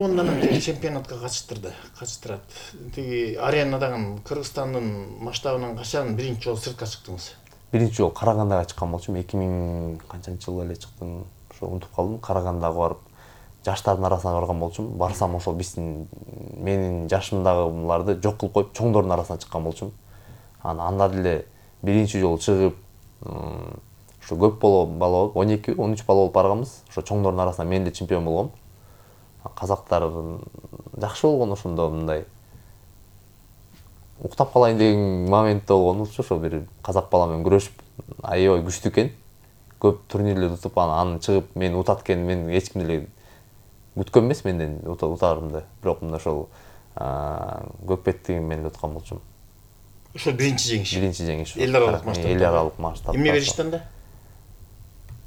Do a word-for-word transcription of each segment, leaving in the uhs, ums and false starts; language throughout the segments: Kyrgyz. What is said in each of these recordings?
Ондан тиги чемпионатка катыштырды, катыштырат. Тиги аренадагы Кыргызстандын масштабынан качан биринчи жолу сыртка чыктыңыз? Биринчи жолу Карагандага чыккан болчумун. эки миң канчанчы жылы эле чыктым. Ошо унутуп калдым. Карагандага барып жаштардын арасына барган болчумун. Барсам ошол биздин менин жашымдагыларды жок кылып коюп, чоңдордун арасына чыккан болчумун. Анан анда деле биринчи жолу чыгып, ошо көп бала болуп, он эки он үч бала болуп барганбыз. Ошо чоңдордун арасынан мен эле чемпион болгом. Казактар жакшы болгон, ошондо мындай уктап калайын деген момент болгон. Ошо бир казак бала менен күрөшүп, аябай күчтүү экен. Көп турнирлерди утуп, анан чыгып мен утат экен, мен эч ким деле күткөн эмес менден утаарымды. Бирок мына ошол көкпеттигин мен уткан болчумун. Ошо биринчи жеңиш. Биринчи жеңиш. Эл аралык масштабта. Эл аралык масштабта. Эмне беришти анда?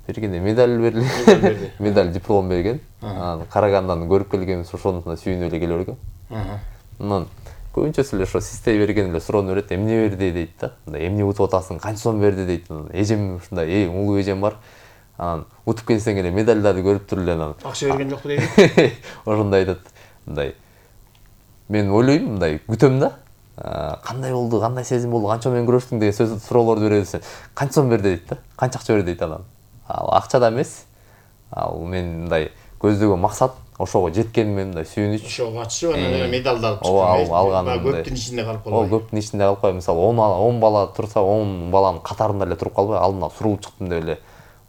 Бергенде медаль берди. Медаль, диплом берген. Анан Карагандан көрүп келгенбиз, ошонусуна сүйүнүп эле келе бергем. Анан көбүнчөсү эле ошо систей берген эле суроону берет, эмне берди дейт да. Мындай эмне утуп атасың, канча сом берди дейт. Эжем ушундай, э, улуу эжем бар. Анан утуп келсең эле медальдарды көрүп туруп эле анан. Акча берген жокпу дейт. Ошондой айтат. Мындай. Мен ойлойм, мындай күтөм да. Кандай болду, кандай сезим болду, канча менен күрөштүң деген сөз суроолорду беребиз. Канча сом берди дейт да. Канча акча берди дейт анан. Ал акча да эмес. Ал мен мындай көздөгөн максат ошого жеткениме мындай сүйүнүч. Ошого катышып анан медалды алып чыккан. Алган. Көптүн ичинде калып калбай. О, көптүн ичинде калып калбай. Мисалы он бала турса, он баланын катарында эле туруп калбай, алдына сурулуп чыктым деп эле.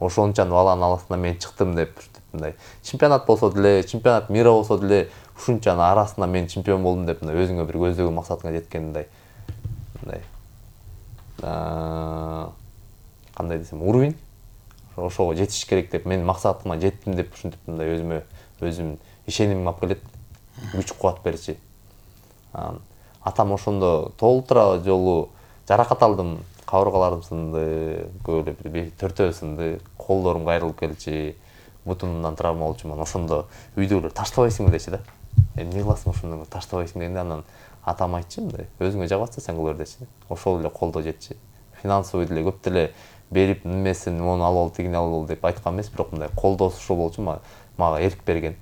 Ошончан баланын арасынан мен чыктым деп мындай. Чемпионат болсо деле, чемпионат мира болсо деле, ушунчанын арасынан мен чемпион болдум деп мындай өзүңө бир көздөгөн максатыңа жеткениндей. Мындай. Аа, кандай десем, уровень ошого жетиш керек деп, мен максатыма жеттим деп ушинтип мындай өзүмө өзүм ишенимим алып келет, күч кубат берчи. Атам ошондо толтура жолу жаракат алдым, кабыргаларым сынды, көп эле төртөө сынды, колдорум кайрылып келчи, бутумдан травма болчумун. Ошондо үйдөгүлөр таштабайсыңбы дечи да. Эмне кыласың ошондо таштабайсың дегенде анан атам айтчы мындай, өзүңө жагып атса сен кыла бер дечи. Ошол эле колдоо жетчи. Финансовый деле көп деле берип немесин, мону алып ал, тигини алып ал деп айткан эмес, бирок мындай колдоосу ошол болчу, мага эрк берген.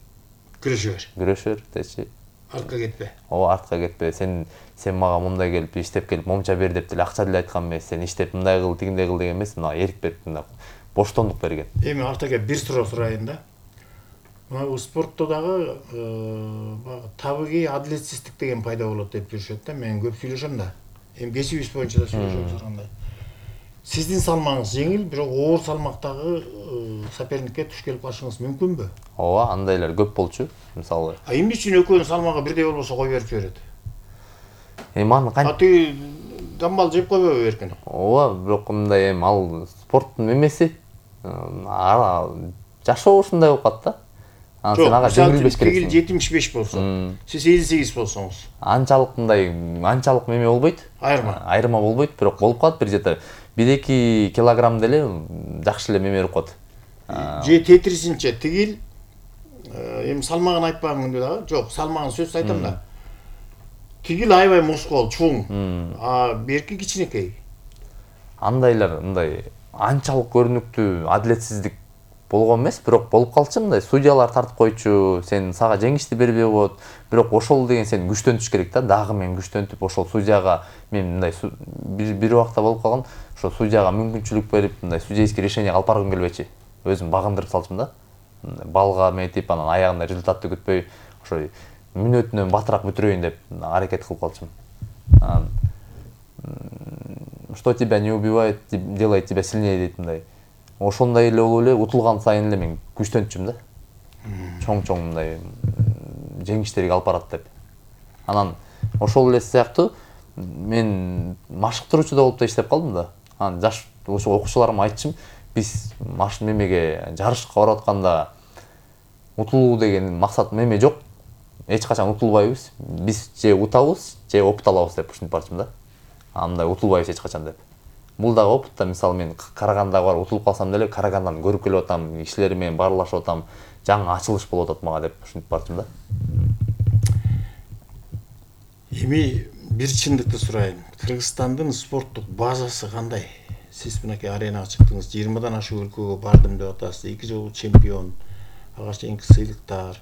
Күрөшө бер. Күрөшө бер дечи. Артка кетпе. Ооба, артка кетпе. Сен сен мага мындай келип иштеп келип момча бер деп деле акча деле айткан эмес. Сен иштеп мындай кыл, тигиндей кыл деген эмес, мага эрк берип мындай боштондук берген. Эми артка кеп бир суроо сурайын да. Мына спортто дагы баягы табигый адилетсиздик деген пайда болот деп жүрүшөт да. Мен көп сүйлөшөм да. Эми кесибиз боюнча да сүйлөшөбүз андай. Сиздин салмагыңыз жеңил, бирок оор салмактагы соперникке туш келип калышыңыз мүмкүнбү? Ооба, андайлар көп болчу, мисалы. А эмне үчүн экөөнүн салмагы бирдей болбосо кой берип жиберет? Эми аны А тиги дамбал жеп койбойбу эркин? Ооба, бирок мындай эми ал спорттун эмеси. Жашоо ушундай болуп калат да. Анан сен ага жеңилбеш керексиң. Тигил жетимиш беш болсо, сиз элүү сегиз болсоңуз. Анчалык мындай, анчалык эме болбойт. Айырма. Айырма болбойт, бирок болуп калат бир жете. бир эки килограмм деле жакшы эле меме болуп калат. Же тетрисинче тигил эми салмагын айтпаган күндө дагы, жок, салмагын сөзсүз айтам да. Тигил аябай мускул, чуң. А берки кичинекей. Андайлар мындай анчалык көрүнүктүү адилетсиздик болгон эмес, бирок болуп калчу мындай. Судьялар тартып койчу, сен сага жеңишти бербей коет. Бирок ошол деген сен күчтөнтүш керек да. Дагы мен күчтөнтүп ошол судьяга мен мындай бир убакта болуп калган, ошо судьяга мүмкүнчүлүк берип, мындай судейский решение алып баргым келбечи. Өзүм багындырып салчумун да. Балга метип, анан аягында результатты күтпөй, ошо мүнөтүнөн батыраак бүтүрөйүн деп аракет кылып калчумун. Что тебя не убивает, делает тебя сильнее дейт мындай. Ошондой эле болуп эле утулган сайын эле мен күчтөнчүм да. Чоң-чоң мындай жеңиштерге алып барат деп. Анан ошол эле сыяктуу мен машыктыруучу да болуп да иштеп калдым да. Анан жаш ошо окуучуларыма айтчым, биз маш мемеге жарышка барып атканда утулуу деген максат меме жок. Эч качан утулбайбыз. Биз же утабыз, же опыт алабыз деп ушинтип барчым да. Андай утулбайбыз эч качан деп. Бул дагы опыт да, мисалы мен Карагандага барып утулуп калсам деле, Карагандан көрүп келип атам, кишилер менен баарлашып атам, жаңы ачылыш болуп атат мага деп ушинтип барчым да. Эми бир чындыкты сурайын. Кыргызстандын спорттук базасы кандай? Сиз мынакей аренага чыктыңыз, жыйырмадан ашык өлкөгө бардым деп атасыз, эки жолу чемпион, ага чейинки сыйлыктар.